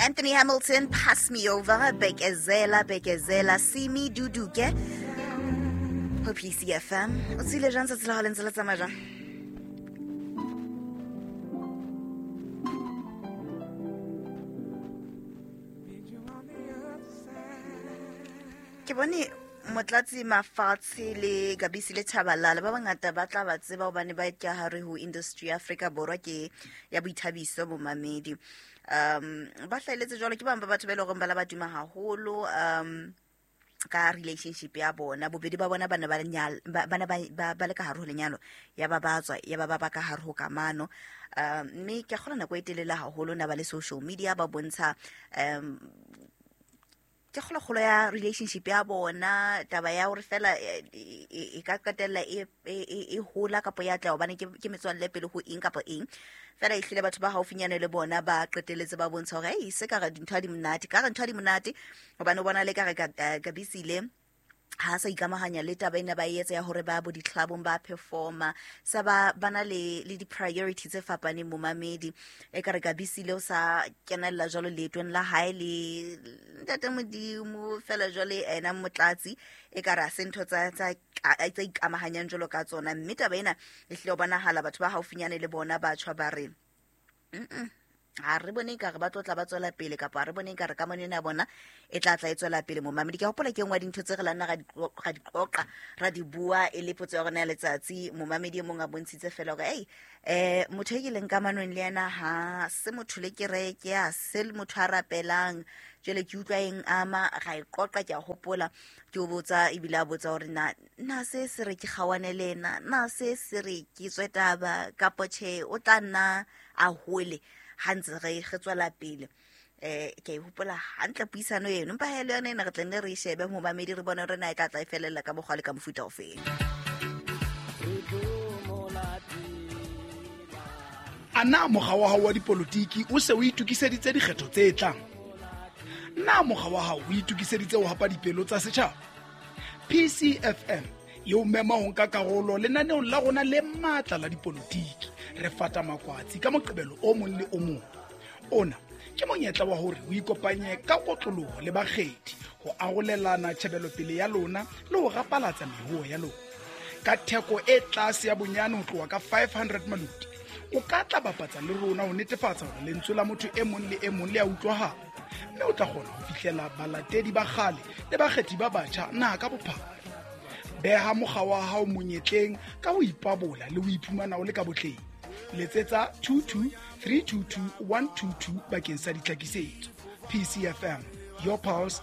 Anthony Hamilton, Pass Me Over, Bekezela, Bekezela, Simi Duduke ho PCFM. O tsile jang tsatsi la hao le ntse le tsamaya jang? Ke bone Motlatsi Mafatshe le Gabisi le Thabalala ba bangata ba tla ba tseba hobane ba ka hare ho industry ya Afrika Borwa ke ya boithabiso bomamedi. Ba hlahelletse jwalo ke bang ba batho ba e leng hore ba la ba tuma haholo ka relationship ya bona. Bobedi ba bona ba ne ba nyal-, ba, ba ne ba, ba, ba le ka hare ho lenyalo, ya ba ba tswa, ya ba ba ba ka hare ho kamano. Mme ke a kgolwa nako e telele haholo na ba le social media ba bontsha, ke kgolokgolo ya relationship ya bona, taba ya hore fela, e ka qetella e hola kapa ya tla hobane ke metswalle pele ho eng kapa eng. Fela ehlile batho ba haufinyane le bona ba qetelletse ba bontsha hore, ei, se ka re dintho ha di monate, ka re ntho ha di monate, hobane o bona le ka re Gabisile ha sa ikamahanya le taba ena ba e etsa ya hore ba bo di-clubong ba performa, sa ba na le di-priority tse fapaneng momamedi. E ka re Gabisile o sa kenella jwalo leetong la hae le ntate Modimo, fela jwale ena Motlatsi e ka re ha se ntho tsa ikamahanyang jwalo ka tsona. Mme taba ena e hlile ho bonahala batho ba haufinyane le bona batjha ba re, ha re bone ekare ba tlo tla ba tswela pele, kapa ha re bone ekare kamano ena ya bona e tla tla e tswela pele momamedi. Ke a hopola ke e nngwe ya dintho tse re la nna ra di qoqa, ra di bua e le potso ya rona ya letsatsi. Momamedi e mong a bontshitse fela hore, ei, motho e ke leng kamanong le yena ha se motho le kereke, ha se motho a rapelang, jwale ke utlwa eng ama, ra e qoqa. Ke a hopola ke o botsa, ebile a botsa hore na se se re ke kgawane le ena, na se se re ke tswe taba, kapo tjhe o tla nna a hole ha ntse re tswela pele. Ke a e hopola hantle puisano eno, empa ha e le yona ena re tla nne re e shebe momamedi, re bone hore na e tla tla e felella ka mokgwa le ka mofuta ofeng. A na mokga wa hao wa dipolotiki o se o itokiseditse dikgetho tse tlang? Na mokga wa hao o itokiseditse ho hapa dipelo tsa setjhaba? PCFM e o mema ho nka karolo lenaneong la rona le matla la dipolotiki. Re fata makwatsi ka Moqebelo o mong le o mong. Ona ke monyetla wa hore o ikopanye ka kotloloho le bakgethi ho arolelana tjhebelopele ya lona le ho rapalatsa mehuo ya lona. Ka theko e tlase ya bonyane ho tloha ka 500 maluti, o ka tla bapatsa le rona ho netefatsa hore lentswe la motho e mong le e mong le a utlwahala, mme o tla kgona ho fihlela balatedi ba kgale le bakgethi ba batjha naha ka bophara. Beha mokga wa hao monyetleng ka ho ipabola le ho iphumana o le ka botleng. Letsetsa 22 322 122 bakeng sa ditlhakisetso. PCFM, your pulse,